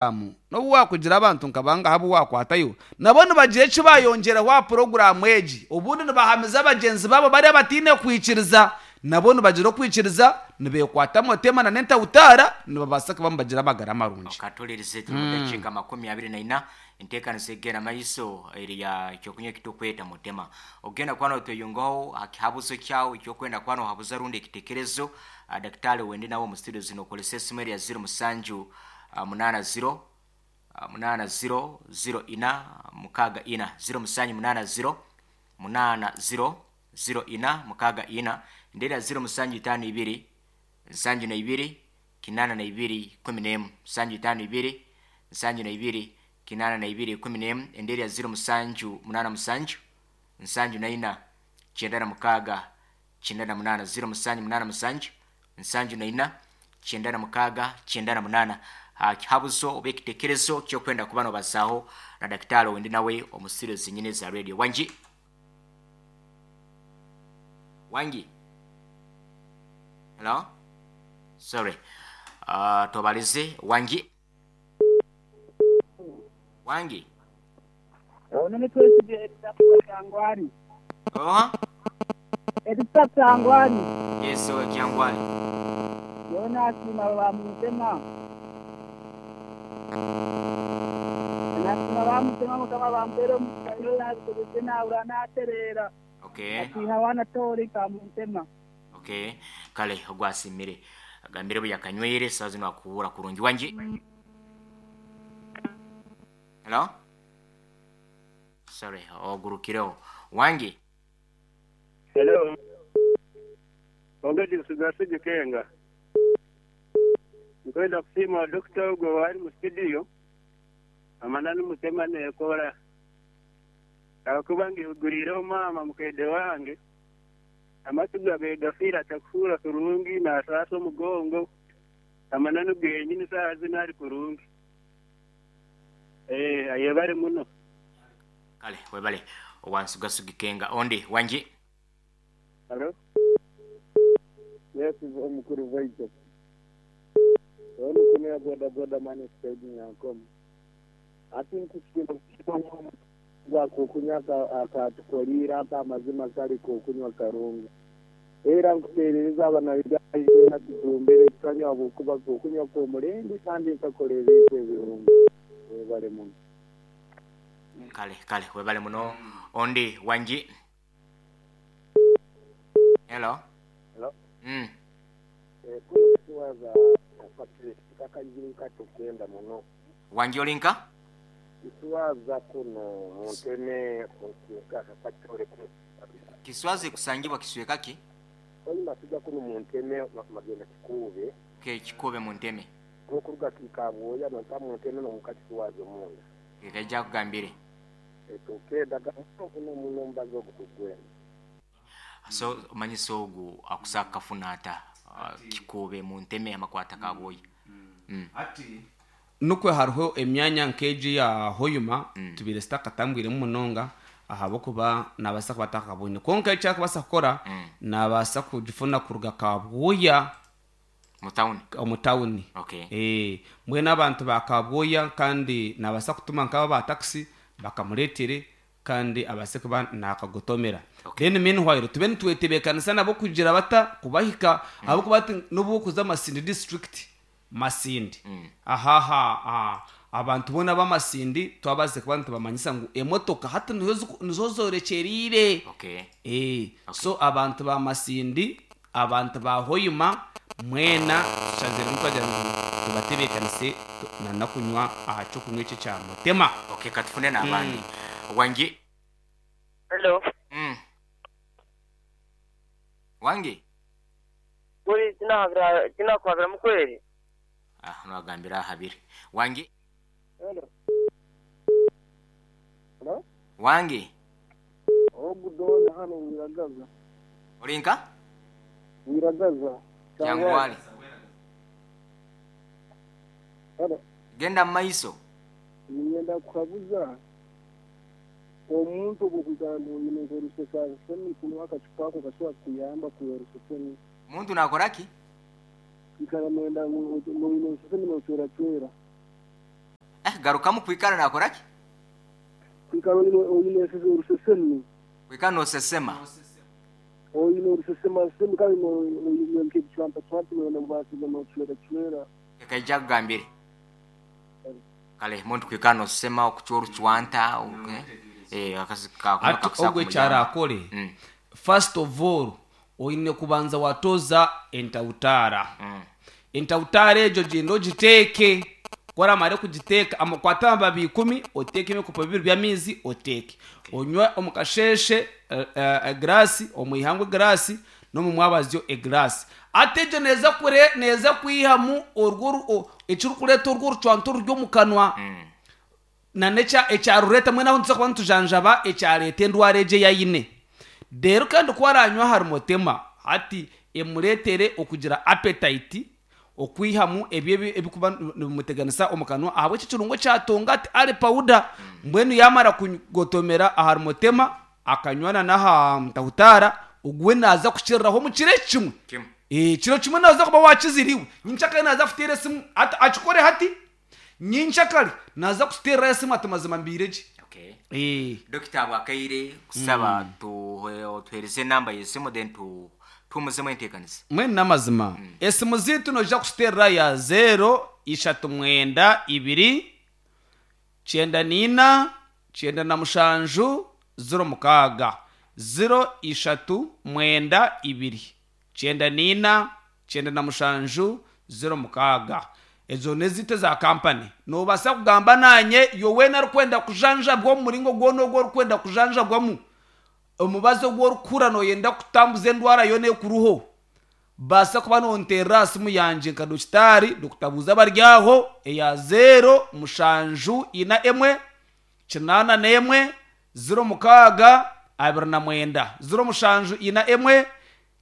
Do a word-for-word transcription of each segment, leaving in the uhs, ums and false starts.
N'obu waakugira abantu nka bangahi abu waakwatayo, nabo nibagira eki baayongyeraho aha puroguraamu egi. Obundi nibahamiza bagyenzi baabo bariya abataine kwikiriza, nabo nibagira okwikiriza, nibeekwata motema n'entahutaara, nibabaasa kuba nibagira amagara marungi. Okatolerize turi mu dakiika makumi abiri na ina. Enteekanisa egenda maiso eri ya ekyokunywa ekitukweta mutema. Ogenda kuba notweyungaho aha kihabuzo kyawe ekyokwenda kuba nohabuza rundi ekitekerezo ah, daktari wende nawe omu studio zino okozesa esimu eri ya ziro musanju ah, munaana ziro ah, munaana ziro ziro ina mukaaga ina, ziro musanju munaana ziro munaana ziro ziro ina mukaaga ina, ndera ziro musanju itaano ibiri nsanju na ibiri kinaana na ibiri kumi n'emu, nsanju itaano ibiri nsanju na ibiri kinaana na ibiri kumi n'emu, endera ya ziro musanju munaana musanju nsanju na ina kyenda na mukaaga kyenda na munaana, ziro musanju munaana musanju nsanju na ina kyenda na mukaaga kyenda na munaana. Ha kihabuzo oba ekitekerezo kyokwenda kuba nobazaaho na daktari wendi nawe omu studio zinyine za radio. Wangi, wangi, hello, sorry, uh, tobalize. Wangi, wangi. Ono ni twesige Elisa Kyangwali. Oha. Elisa Kyangwali. Yes, owe Kyangwali. Yona asima bamutema. Nasima bamutema mukama bampera omukayo nabikozese nahura natereera. Okay. Atiha wana tori kamutema. Okay, kale ogwasimire agambire bwe yakanywere saa zino akuwura kurungi. Wangi, hello, sorry, ogurukireho. Wangi. Hello. Ongedi nsigasige kenga. Nkwenda kusiima dokita ogwo wali mu studio. Amananu mutema nekora. Ahakuba ngihuguriireho maama mukaide wange. Amatu gabe gafiire atakuhuura kurungi naasaasa omugongo. Amananu genyini saaha zinu ari kurungi. Eh, ayebare muno. Kale webale owansugasugike kenga. Ondi, wangi. Hello? Yes, omukuru waitu. Ono kunia boda boda mani stage nyankomo. Ati nkusikira gwa kukunywa akatukolira aka amazima kali kukunywa karungi. Era nkuterereza abana bigayi tutumbere tukanywa bukuba kukunywa kw'omurembe kandi nkakola ebintu ebirungi. Webale muno. Kale, kale webale muno. Ondi, wangi. Hello. Hello? Mm. Eh, kuno kusiwaza kakajiri katukenda muno. Wangi, olinka Kiswaza kuno munteme kakatore kuno. Kiswazi kusangibwa kisweka ki? Oyima tujja kuno munteme magenda kikuube. Ke kikube mu nteme. N'okuruga kikabwoya nonta munteme n'omukakiswaza omunda. Kekaija kugambire. Tukenda kuno muno mbazi ogutugwenda. So omanyisa ogu akusaka kafuna ata uh, kikube mu nteme amakwata kabwoya mm. Ati nukwe hariho emyanya nk'egi ya Hoyuma tubiire sitakatambwiremu munonga ahabw'okuba nabaasa kuba atakabwine, kwonka ekyakubaasa kukora nabaasa kugifuna kuruga Kabwoya mu town. Omu tawuni. Okay. Eh, mbwenu abantu ba Kabwoya kandi nabaasa kutuma nk'aba ba takisi bakamureetere kandi abaase kuba nakagotomera. Okay. Then meanwhile tube nitwetebeekanisa nabo kugira bata kubahika, ahabw'okuba ati n'obu okuza Masindi district, Masindi ahaha aha, abantu boona b'Amasindi twabaase kuba nitubamanyisa ngu emotoka hati nizo ziku- nizo zorekyeriire. Okay. Eh, so abantu ba Masindi, abantu ba Hoyuma mwena tushazire twagira ngu tubatebeekanise tu- nanakunywa aha kyokunywa eki ekya mutema. Okay, katufune n'abandi. Wangi. Hello. Mm. Wangi. Kuri sinahabira sinakuhabira mukweri. Ah, nagambira ahabire. Wangi. Hello? Hello? Wangi. Ogudona hano Wiragaza. Olinka Wiragaza. Kyangwali. Hello? Genda mu maiso. Ninyenda kuhabuza omuntu ogwokugamba oyine nkorusesansoni kunywa akacupa ako kashobora kukuyamba kuya rusesemi. Muntu nakora ki? Ikara noyenda ngu oyine rusesemi nocweracwera. Garukamu kwikara nakoraki? Kwikara oyine oyine orusesemi. Kwikara nosesema. Oyine orusesema semi kandi oyine nk'ekicwanta cwanta oyine mubasiga nochwera chwera. Ekaija kugambire. Kale muntu kwikara nosesema okuchwa orucwanta okay. Eh akasika ati ogwe kyarakore. Mm. First of all oyine kubanza watoza entautara. Mm. Entautara egyo genda ogiteeke koramare kugiteeka amakwata amababi ikumi oteeke ebikopo bibiri by'amaizi oteeke onywe omu kasheshe egirasi omu ihangwe egirasi n'omu mwabazyo egirasi ate egyo neeza kure neeza kwihamu orwo oru- o- ekirikureeta orwo orucwanto ruri omu kanwa Mm. na nekya ekyarureta mwena aho nituza kuba nitujanjaba ekyareta endwara egyo eyayine rero kandi ku aranywa hari mutema hati emureetere okugira appetite okwihamu ebyo ebi- ebikuba nibimuteganisa omu kanwa ahabw'eki ekirungo kyatonga ati ari powder mbwenu yamara kugotomera ahari mutema akanywana n'aha ntahutara ogwe naza kukiriraho omu kiro kimwe. Kimwe. Eh, kiro kimwe naza kuba wakiziriwe nyincakare naza kuteera esimu ati akikore hati nyincakare naza kuteera esimu ati mazima mbiire gye. Okay. Eh, Dokita bwakaire kusaba tu tuhereze namba yesimu then tu tumuzemu enteekaniza. mwene n'amazima esimu ziitu noija kututeerera ya zero ishatu mwenda ibiri kyenda niina kyenda na mushanju ziro mukaaga ziro ishatu mwenda ibiri kyenda niina kyenda na mushanju ziro mukaaga ezo nezite za kampani nobaasa kugamba nanye yoweena arikwenda kujanjabwa omu muringo gwona ogu orikwenda kujanjabwamu omubazi ogu orikukura noyenda kutambuza endwara yoona ekuruho baasa kuba nonterera simu yangye nka dokitaari dokitabuuza abaryaho eya zero mushanju ina emwe kinaana n'emwe ziro mukaaga abiri na mwenda ziro mushanju ina emwe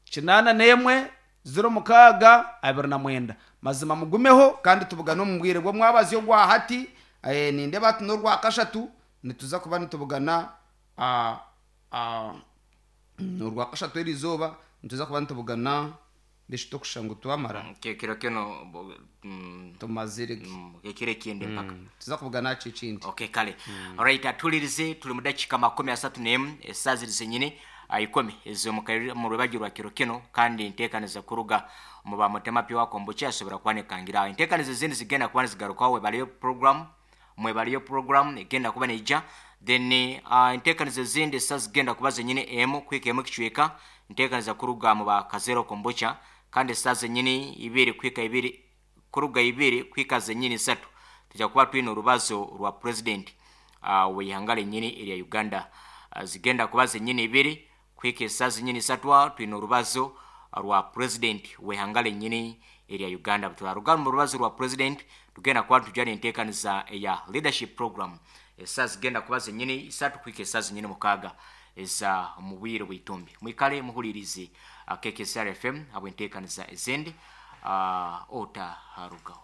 kinaana n'emwe ziro mukaaga abiri na mwenda mazima mugumeho kandi tubugane omu bwire bw'omwabazyo gwa hati eh, nindeba ati n'orwa kashatu nituza kuba nitubugana ah, ah, orwa kashatu eri izooba nituza kuba nitubugana ndeshita okusha ngu twamara Kiro kino bo- mm, tumazire ge. mm, ekiro ekindi mpaka. Tuza kubugana ki ekindi. Okay kale. Alright atulirize tuli mu dakika makumi asatu n'emu esaaha ziri zenyini ah, ikumi ez'omu mu rwebagyo rwa kiro kino kandi enteekaniza kuruga mu ba mutema pure kombucha asobora kubanekangira enteekaniza ezindi zigenda kuba nizigarukaho webaliyo program mwebaliyo program egenda kuba neija then uh, enteekaniza ezindi esaaha zigenda kuba zenyini emu kwika emu ekicweka enteekaniza kuruga mu ba kazero kombucha kandi esaaha zenyini ibiri kwika ibiri kuruga ibiri kwika zenyini isatu tujja kuba twine orubazo rwa president uh, w'ihanga lenyini erya Uganda uh, zigenda kuba zenyini ibiri kwika esaaha zenyini isatu aho twine orubazo rwa president w'ihanga lenyini erya Uganda turaruga mu rubazo rwa president tugenda kuba tujana enteekaniza eya leadership program esaaha zigenda kuba zenyini isatu kwika esaaha zenyini mukaaga eza mu bwire bw'itumbi mwikale muhulirize uh, K K S R F M habw'enteekaniza ezindi uh, ota harugaho.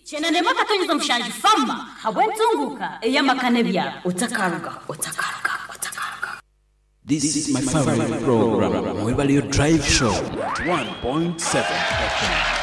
Chenandema katonyeza mushanju fama habwentunguka eyamakane byabo Otakaruga, otakaruga, otakaruga. This is my favorite program, Mwebalio Drive Show, one point seven F M.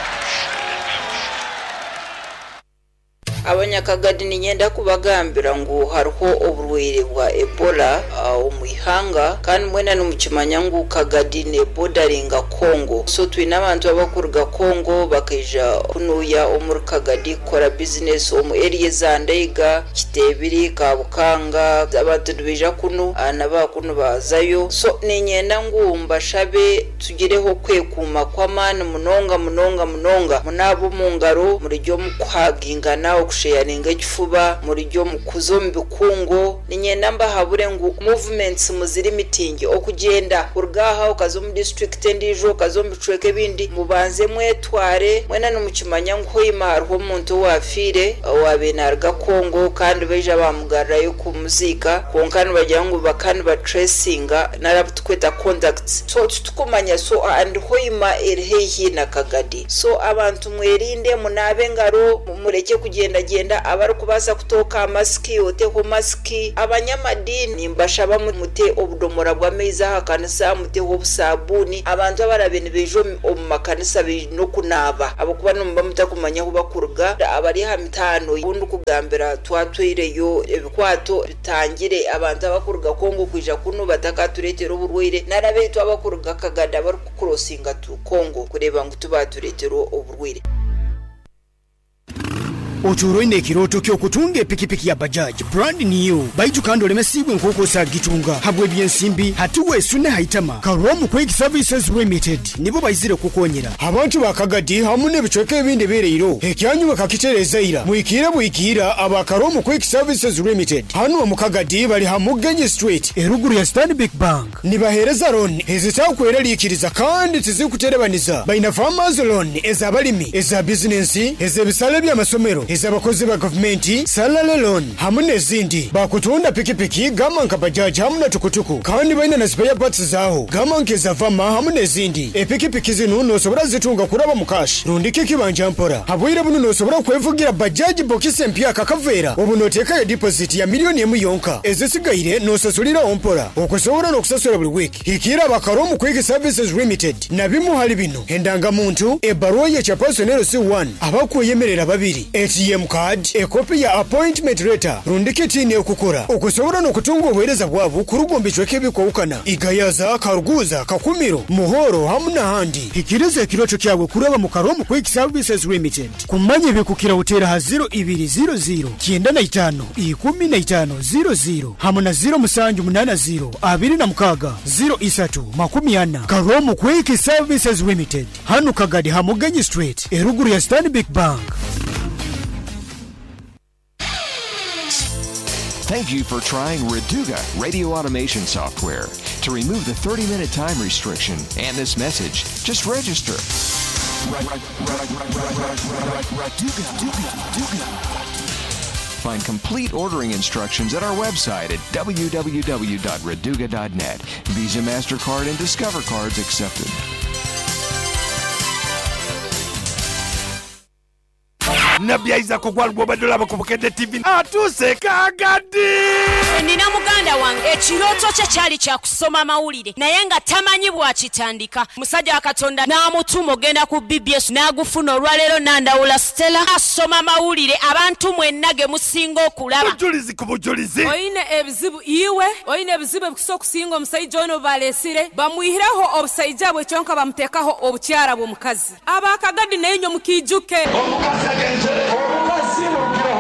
Abanyakagadi ninyenda kubagambira ngu hariho oburwaire bwa Ebola uh, omu ihanga kandi mwena nimukimanya ngu Kagadi ne bordaringa Congo so twine abantu abakuruga Congo bakaija kunuya omuri Kagadi kukora business omu area za Ndeiga, Kitebiri, Kabukanga abantu nibaija kunu uh, n'abakunu bazayo so ninyenda ngu mbashabe tugireho kwekuuma kw'amaani munonga munonga munonga munaaba omu ngaro murijya omu kuhagingana okusheyaringa ekifuba murijya omu kuza omu bikungu ninyenda mbahabure ngu movements muziri mitingi okugyenda kuruga aha okaza omu district endiijo okaza omu bicweka ebindi mubanze mwetware mwena nimukimanya ngu hoima hariho omuntu owafiire owaabaire naaruga Congo kandi baija bamugarurayo kumuziika kwonka nibagira ngu baka nibatracinga nari tukweta contacts so titukumanya so and hoima eri haihi na Kagadi so abantu mwerinde munaabe engaro mureke kugyenda kugyendagenda abarikubaasa kutooka masiki oteho masiki. Abanyamadini mbashaba mute obudomora bw'amaizi aha kanisa, muteho obusabuni. Abantu abarabe nibeija omu makanisa baine okunaaba ahabw'okuba nimuba mutakumanya ahu bakuruga. Abari aha mitaano obundi kugambira twatwireyo ebikwato bitangire abantu abakuruga Kongo kwija kunu batakatureetera oburwaire, nari abaitu abakuruga Kagada barikukurosinga tu Kongo kureeba ngu tibatureetera oburwaire. Otuura oine ekirooto ky'okutunga epikipiki ya Bajaj brand new, baitu kandi olemesiibwe nk'oku osagitunga habw'ebyensimbi. Hati weesune haitama. Karomu Quick Services Limited nibo baizire kukonyera abantu ba Kagadi hamu n'ebicweka ebindi bireiro. Ekyanyu bakakitereeza ira, mwikiire bwikiira aba Karomu Quick Services Limited. Hanu omu Kagadi bali ha Mugenyi Street eruguru ya Stanbic Bank. Nibaheereza loan ezitaakweraliikiriza kandi tizikuterebaniza. Baina farmers loan ez'abalimi, eza bizinensi, ez'ebisale by'amasomero, ez'abakozi ba gavumenti, salary loan hamu n'ezindi. Bakutunda pikipiki gama nka bajaji hamu na tukutuku, kandi baina na spare parts zaaho gama nk'eza vama hamu n'ezindi. Epikipiki zinu nosobora zitunga kuraba mu cash rundi kikibanja mpora. Habwire bunu nosobora kwevugira bajaji bokisi empya kakaveera obu noteekayo deposit ya miliyoni emu yonka, ezisigaire nosasuliraho mpora okusobola n'okusasula buli wiiki. Hikiira Abakaromu Quick Services Limited na bimu hali bino: endangamuntu, ebbaruwa y'ekya personnel C one, abakweyemerera babiri, A T M card, ekopi ya appointment letter rundi kitiine okukora okusobola n'okutunga obuheereza bwabo kuruga omu bicweka ebikwawukana Igayaza, Karuguza, Kakumiro, Muhoro hamu n'ahandi. Hikiriza ekirooto kyawe kuraba mu Karomu Quick Services Limited. Kumanya ebikukira oteera ha ziro ibiri ziro ziro kyenda na itaano ikumi na itaano ziro ziro hamu na ziro musanju munaana ziro abiri na mukaaga ziro isatu makumi ana. Karomu Quick Services Limited, hanu Kagadi ha Mugenyi Street eruguru ya Stanbic Bank. Thank you for trying Reduga radio automation software. To remove the thirty-minute time restriction and this message, just register. Find complete ordering instructions at our website at w w w dot reduga dot net. Visa, MasterCard, and Discover cards accepted. Nabbi Isaac ogwalugwa obadde olaba ku Bukedde T V atuuse Kagadi. Nina muganda wange ekirooto kye kyali kya kusoma mawulire naye nga tamanyi bw'akitandika. Musajja wa Katonda n'amutuma ogenda ku B B S n'agufuna olwaleero n'andawula Stella asoma mawulire abantu mwenna ge musinga okulaba. Bujulizi ku bujulizi. Oyine ebizibu iwe, oyine ebizibu ebikusa okusinga omusajja ono baleesire bamwihireho obusajja bwe kyonka bamuteekaho obukyara bw'omukazi. Abakagadi naye nyo mukiijuke.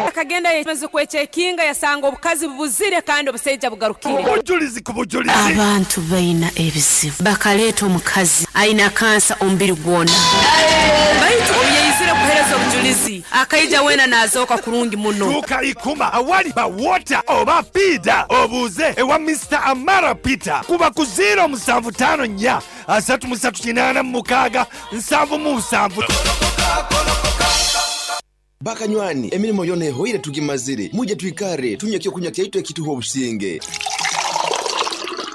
Akagenda yemaze kwechekinga yasanga obukazi bubuzire kandi obusaija bugarukire. Bujulizi ku bujulizi. Abantu baina ebizibu bakaleeta omukazi aina kansa omubiri gwona. Baitu oyeizire kuhereza obujulizi akaija wena naazooka kurungi muno. Tuuka ikuma awali ba water oba pida obuuze ewa Mister Amara Peter kuba ku zero musanvu tano nnya asatu musatu kinaana mukaaga nsanvu mu nsanvu. Bakanywani emirimo yona ehoire tugimazire, muje twikare tunywe ekyokunywa kyaitu ekituha obusinge.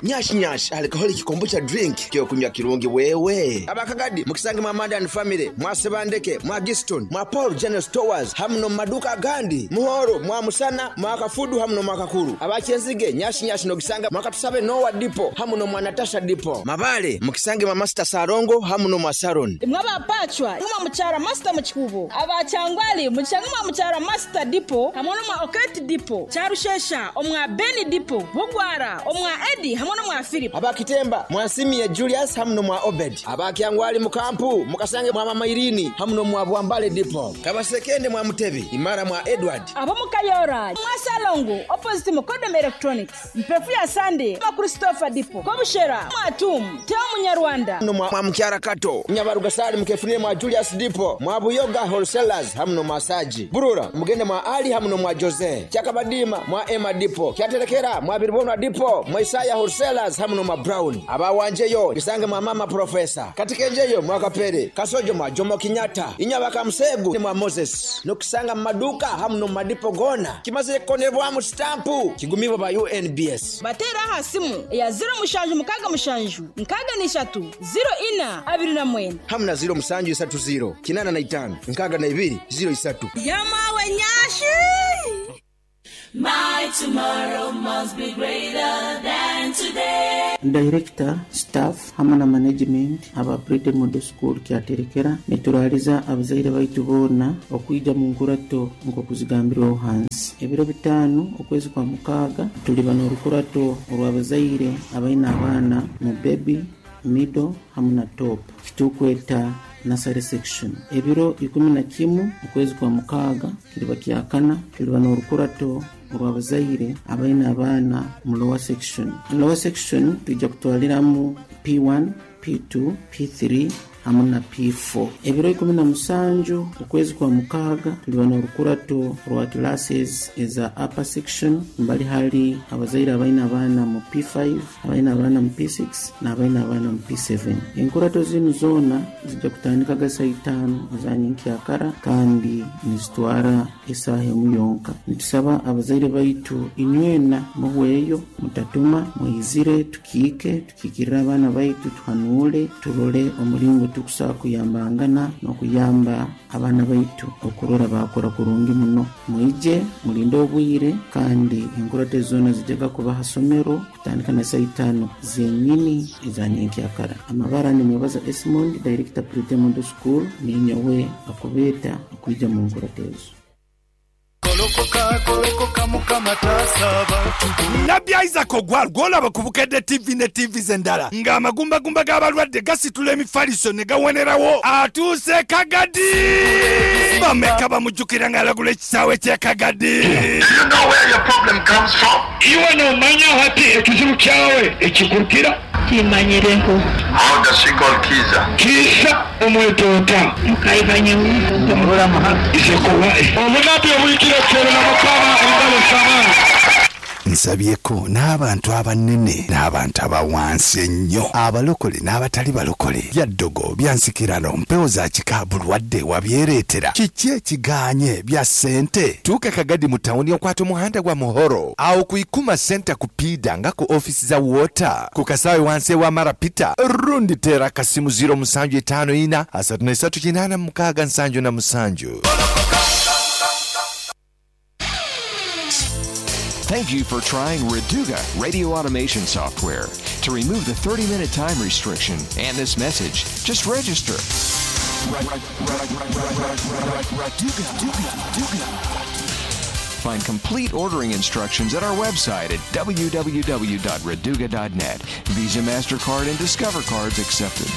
Nyash nyash alcoholic kombucha drink kyokunywa kirungi wewe. Abakagadi mukisange mwa Amanda and family, mwa Sebandeke, mwa Giston, mwa Paul General Stores, hamu no maduka gandi, Muhoro, mwa Musana, mwa Kafudu hamu no mwa Kakuru. Abakyenzige nyash nyash no kisanga mwa Katusabe Noah Depot, hamu no mwa Natasha Depot. Mabale mukisange mwa Master Sarongo hamu no mwa Saron. Mwa Bapachwa, mwa Muchara Master Muchikubo. Abachangwali mukisange mwa Muchara Master Depot, hamu no mwa Oketi Depot. Charushesha omwa Beni Depot, Bugwara omwa Edi hamu no mwa Philip. Abakitemba mwasimiye Julius hamu no mwa Obed. Abakyangwali mukampu mukasange mwa Mama Irini hamu no mwa Bwambale Depot. Kabasekende mwa Mutebi imara mwa Edward. Abamukayora mwa Salongo opposite Mukodom Electronics. Mpefu ya Sunday mwa Christopher Depot. Kobushera mwa Tum Teo Munyarwanda no mwa Mukyara Kato. Nyabarugasali mukefunire mwa Julius Depot. Mwa Buyoga Wholesalers hamu no mwa Saji. Burura mugende mwa Ali hamu no mwa Jose. Kyakabadima mwa Emma Depot. Kyaterekera mwa Biribonwa Depot. Mwa Isaya Wholesalers Sellers hamu n'omwa Brown. Abawanjeyo bisange mwa mama profesa. Katikenjeyo mwa Kapere, Kasojo mwa Jomo Kenyatta, Inyaba Kamusegu mwa Moses. Nokusanga mu maduka hamu n'omu madipo gona. Kimazire kukonebwamu stampu kigumibwa ba U N B S. Batera aha simu ya zero mushanju mukaga mushanju nkaga n'ishatu zero ina abiri na mwenda hamu na zero musanju isatu zero kinana na itano nkaga na ibiri zero isatu. Yamawe nyashi. My tomorrow must be greater than today. Director, staff hamwe na management aba Brede Model School kyaterekera nituraliza abazaire baitu boona okwija mu nkurato nk'okuzigambirwaho hansi. Ebiro bitaano okwezi kwa mukaaga tuliba n'orukurato orw'abazaire abaine abaana mu baby, middle hamwe na top kitukweta nursery section. Ebiro ikumi na kimu okwezi kwa mukaaga kiriba kyakana tuliba n'orukurato orw'abazaire abaine abaana mu lower section. Lower section tujja kutwaliramu P one, P two, P three hamwe na P four. Ebiro ikumi na musanju okwezi kwa mukaaga tuliba n'orukurato rwa classes eza upper section mbali hali abazaire abaine abaana mu P five, abaine abaana mu P six n'abaine abaana mu P seven. Enkurato zinu zoona zijja kutandika saa itaano za nyenkyakara kandi nizitwara esaaha emu yonka. Nitusaba abazaire baitu inywena muhweyo mutatuma muizire tukiike tukiikirire abaana baitu tuhanuule turole omuringo tukusobola kuyambangana n'okuyamba abaana baitu okurora bakora kurungi muno. Mwije mulinde obwire kandi enkurato zoona zijjaga kuba ha somero kutandika na saa itaano zenyini eza nyenkyakara. Amabara nimwebaza Esmond, Director Brede Model School, ninyowe akubeeta okwija mu nkurato ezo. Nabbi Isaac Ogwal gw'olaba ku Bukedde T V ne T Vs endala ng'amagumbagumba g'abalwadde gasitula emifaliso ne gawonerawo atuuse Kagadi. Bameka bamujjukira ng'alagula ekisaawe ky'e Kagadi. Iwe nomanya hati ekizibu kyawe ekikurukira kimanyireho. How does she call Kiza? Kiza omwetota omunabi obulikira kyero na mukama engalo z'amaanyi. Nsabyeko n'abantu abanene n'abantu abawansi ennyo, abalokole n'abatali balokole, byaddogo byansikirano mpewo za kika bulwadde wabyereetera kiki ekiganye bya ssente. Tuuka Kagadi mu tawuni okwata omuhanda gwa Muhoro awo ku Ikuma Center ku Piida nga ku ofisi za water ku kasaawe wansi ewa Marapita rundi teera akasimu ziro musanju etaano ina asatu na esatu kinaana mukaaga nsanju na musanju. Thank you for trying Reduga radio automation software. To remove the thirty-minute time restriction and this message, just register. Find complete ordering instructions at our website at w w w dot reduga dot net. Visa, MasterCard, and Discover cards accepted.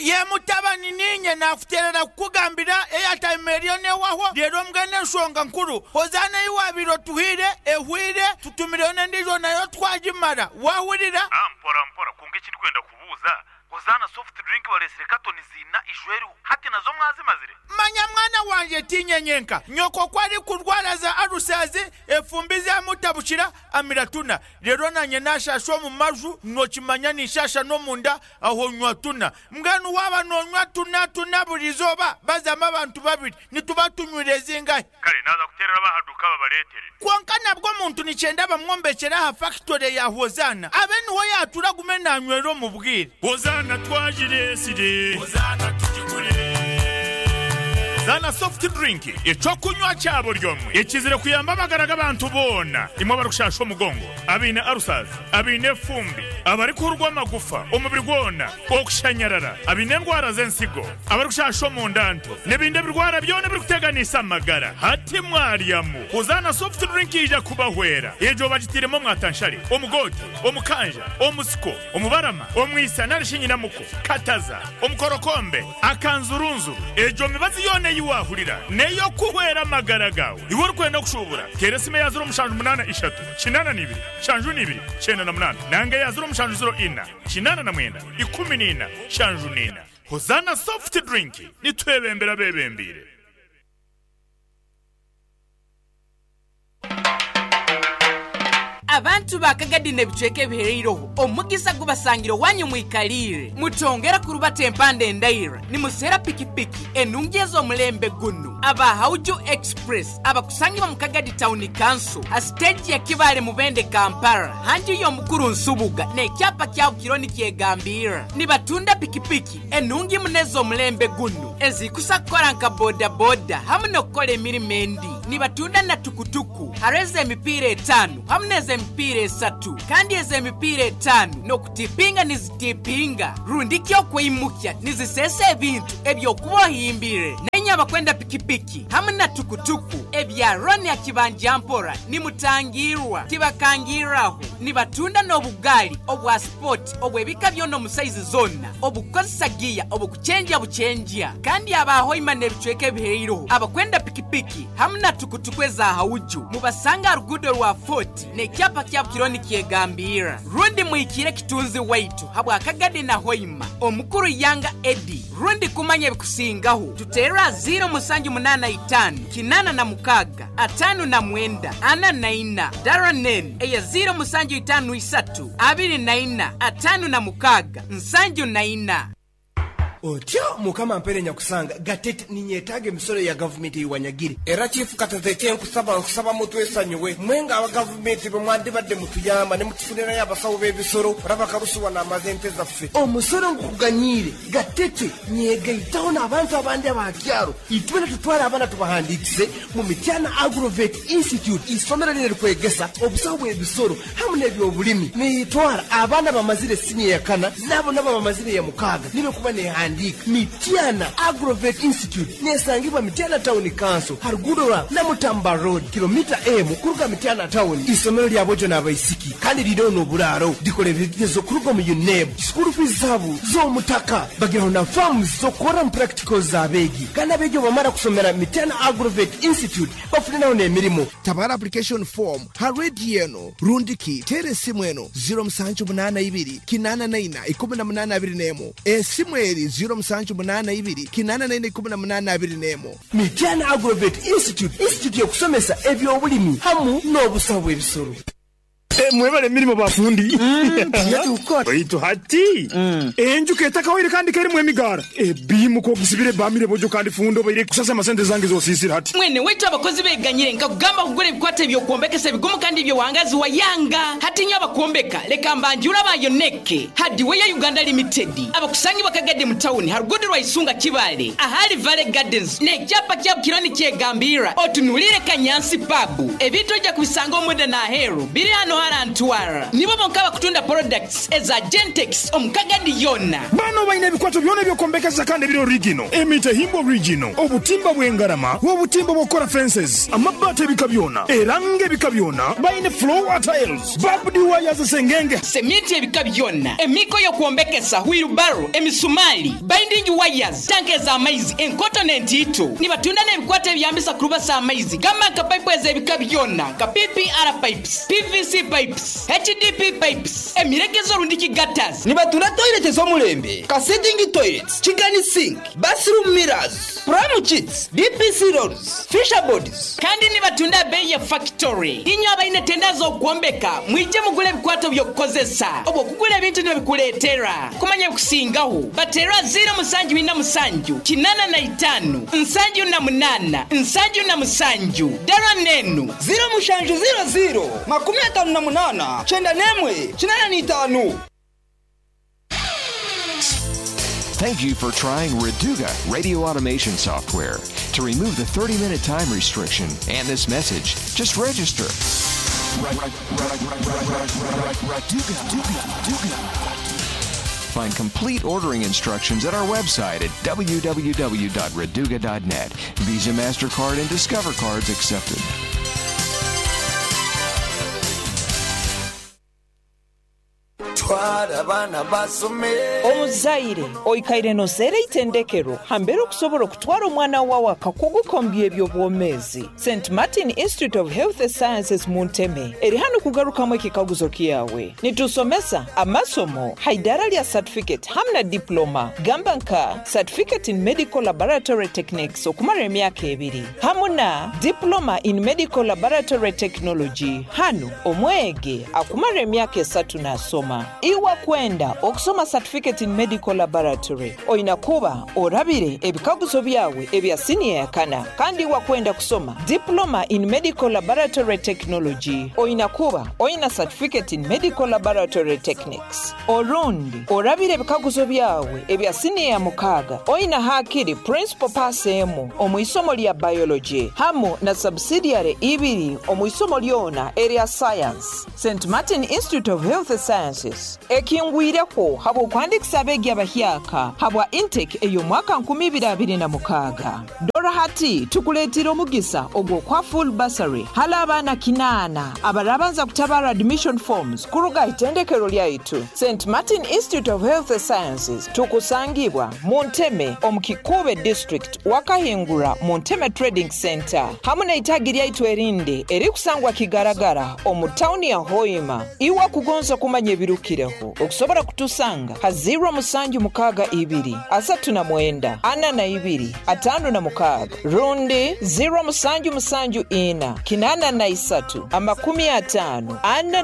Ye mutabani ninye nakuterera kukugambira airtime eriyo newaho rero mbwene ensonga nkuru hozana iwabiro tuhire ehwire tutumireyo n'endijo nayo twagimara wahurira. Mpora mpora kunga ekindi kwenda kubuuza hozana soft drink balesire katoni zina ishweru hati nazo mwazimazire. Manya mwana wanje tinyenyenka nyoko kwari kurwara za arusazi efumbi zamutabukira amiratuna rero nanye nashasha mu maju nokimanya nishasha no munda aho nywa tuna mbwenu waba nonywa tuna tuna burizoba bazama abantu babiri nituba tunywire zingahe. Kale naza kuterera bahaduka babaletere konka nabwo muntu nicyenda bamwombekera ha factory ya Hozana abe niho yatura gume nanywero mu bwire. Hozana twajiresire Hozana tujigure Zana soft drink ecokunywa cyabo ryomwe ekizire kuyamba amagara g'abantu bona imwe barukushasha omugongo abine arusazi abine fumbi abari kurwa amagufa omubiri gwona okushanyarara abine endwara z'ensigo abarikushasha omundanto n'ebindi birwara byona birikuteganisa amagara hati mwaryamu. Hozana soft drink ija kubahwera ejo bagitiremo mwatanshare omugote omukanja omusiko omubarama omwisa narishinyinamuko kataza omukorokombe akanzurunzuru ejo mibazi yone yiwahurira neyo kuhwera amagara gawe iwe urikwenda kushubura teresime ya zero mushanju munana ishatu kinana n'ibiri shanju n'ibiri cyenda na munana nange ya zero mushanju zero ina kinana na mwenda ikumi n'ina shanju n'ina. Hozana soft drink nitwebembera bebembire. Abantu bakagadi n'ebicweka ebihereireho omugisa gubasangire wanyu mwikalire mutongera kurubata empanda endaira nimusera pikipiki enungi ez'omulembe guno. Aba Hauju Express abakusangibwa mu Kagadi Town Council a stage ya Kibale Mubende Kampala hanju y'omukuru Nsubuga n'ekyapa kyawo kironi kyegambira. Nibatunda pikipiki enungi muneza omulembe guno ezikusa kukola nka boda boda hamu n'okukola emirimu endi. Nibatunda na tukutuku hareze emipiira etaano hamu n'eza emipiira esatu kandi eza emipiira etaano n'okutipinga nizitipinga rundi kyokwimukya nizisesa ebintu ebyokuba ohimbire. Nenye abakwenda pikipiki hamu na tukutuku ebya Roni ya kibanja mpora nimutangirwa tibakangiraho. Nibatunda n'obugali obwa sport obwebika byona omu saizi zona obukozesa giya obukuchenja buchenja. Kandi abahoima n'ebicweka ebihereireho abakwenda pikipiki hamu na tukutuku eza Hauju mubasanga rugudo rwa Fort n'ekyapa kya kironi kyegambira. Rundi mwikire kitunzi waitu habwa Kagadi na Hoima omukuru Yanga Edi. Rundi kumanya ebikusingaho tutera zero musanju munana itano kinana na mukaga atano na mwenda ana na ina daranen eya zero musanju itano isatu abiri na ina atano na mukaga nsanju na ina. Otyo mukama mpere nyakusanga gatete ninyetaga emisoro ya gavumenti iwanyagire era chifu katete nkusaba nkusaba mutwesanyuwe mwenga aba gavumenti bamwandibadde mutuyamba ne mutufunira y'abasawo b'ebisoro rabakarusuwa n'amazente zaffe omusoro nkuganyire gatete nyegaitaho n'abantu abandi abakyaro itwena tutwara abaana tubahandikise mu Mityana Agrovet Institute isomero liri kwegesa obusawo bw'ebisoro hamwe n'ebyobulimi nitwara abaana bamazire siniya ya kana nabo nabo bamazire ya mukaga nibe kuba ne Mityana Agrovet Institute nesangibwa Mityana Town Council haruguru na Mutamba Road kilomita emu kuruga Mityana Town. Isomero lya bojo n'abaisiki kandi liriho n'oburaaro dikora ebigezo kuruga mu UNEB school fees zabo z'omutaka bagiraho na farms z'okukora mu practicals z'abeegi kandi abeegi bamara kusomera Mityana Agrovet Institute bafuniraho n'emirimo. Tabara application form ha radio eno rundiki tere esimu eno zero musanju munana ibiri kinana naina ikumi na munana abiri n'emu esimu eri zero musanju munana ibiri kinana naina ikumi na munana abiri n'emu. Mityana Agrovet Institute institute yokusomesa ebyobulimi hamu n'obusawo bw'ebisoro. Mwebale emirimu bafundi baitu hati enjuka etakawire kandi kerimu emigara ebimuka ogisibire bamire bojo kandi fundo baire kusasa amasente zange zosisira hati. Mwene wetu abakozi beganyire nkakugamba kugura ebikwate ebyokuombekesa ebigumu kandi ebyowangazi wa yanga hati nyo abakuombeka leka mbanjura bayoneke Hardware Uganda Limited abakusangi bakagade mu town harugudu rwa Isunga Kibale ahali Valley Gardens n'ekyapa kya kironi kyegambira otunulire Kanyansi Pub ebintu ojja kubisanga omuda na ahero biri hano harantwara nibo bonka bakutunda products eza Gentex omukagadi yona. Bano baine ebikwato byona ebyokuombekesa kandi biri original emite himbo original obutimba bw'engarama obutimba bw'okora fences amabaati ebika byona erange ebika byona baine floor tiles barbed wires sengenge semiti ebika byona emiko y'okuombekesa wheelbarrow emisumali binding wires tanke za amaizi enkoto n'entiito nibatunda n'ebikwato ebyambisa kurubasa amaizi gamba nka pipe ez'ebika byona nka P P R pipes P V C pipes H D P pipes emiregezo rundiki gutters. Nibatunda toilet z'omulembe ka sitting toilets chicken sink bathroom mirrors pram sheets D P C rolls fisher boards kandi nibatunda bei ya factory. Inyo abaine tenda z'okuombeka mwije mugule ebikwato by'okukozesa obwo kugula ebintu nibikuleetera kumanya kusingaho batera zero musanju ina musanju kinana na itano nsanju na munana nsanju na musanju dara nenu zero mushanju zero zero makumi atano na munana chenda nemwe chinana ni itanu. Thank you for trying Reduga radio automation software. To remove the thirty-minute time restriction and this message, just register. Find complete ordering instructions at our website at w w w dot reduga dot net. Visa, MasterCard, and Discover cards accepted. Batwara abaana basome. Omuzaire oikaire noseera itendekero hambere okusobola okutwara omwana wawe akakugukombya eby'obwomeezi. Saint Martin Institute of Health Sciences mu Nteme eri hano kugarukamu ekikaguzo kyawe. Nitusomesa amasomo haidara lya certificate hamwe na diploma, gamba nka certificate in medical laboratory techniques okumara emyaka ebiri hamwe na diploma in medical laboratory technology. Hano omwege akumara emyaka esatu nasoma. Iwa kwenda okusoma certificate in medical laboratory oina kuba orabire ebikaguzo byawe ebya senior ya kana, kandi iwa kwenda kusoma diploma in medical laboratory technology oina kuba oina certificate in medical laboratory techniques. Orundi orabire ebikaguzo byawe ebya senior ya mukaga oina hakiri principal pass emu omu isomo lya biology hamu na subsidiary ibiri omu isomo lyona area science. Saint Martin Institute of Health Sciences ekingwireko habw'okwandikisa abeegi abahyaka habwa intake ey'omwaka nkumi ibiri abiri na mukaaga. Dora hati tukuleetera omugisa ogw'okwa full bursary hala abaana kinaana abarabanza kutabara admission forms kuruga itendekero lyaitu Saint Martin Institute of Health Sciences. Tukusangibwa mu Nteme omu Kikuube district, Wakahingura mu Nteme Trading Center hamwe n'eitagi lyaitu erindi erikusangwa Kigaragara omu tawuni ya Hoima. Iwa kugonza kumanya ebirukireho okusobola kutusanga ha zero musanju mukaaga ibiri asatu na mwenda ana na ibiri atano na mukaaga rundi zero musanju musanju ina kinana na isatu amakumi atano ana na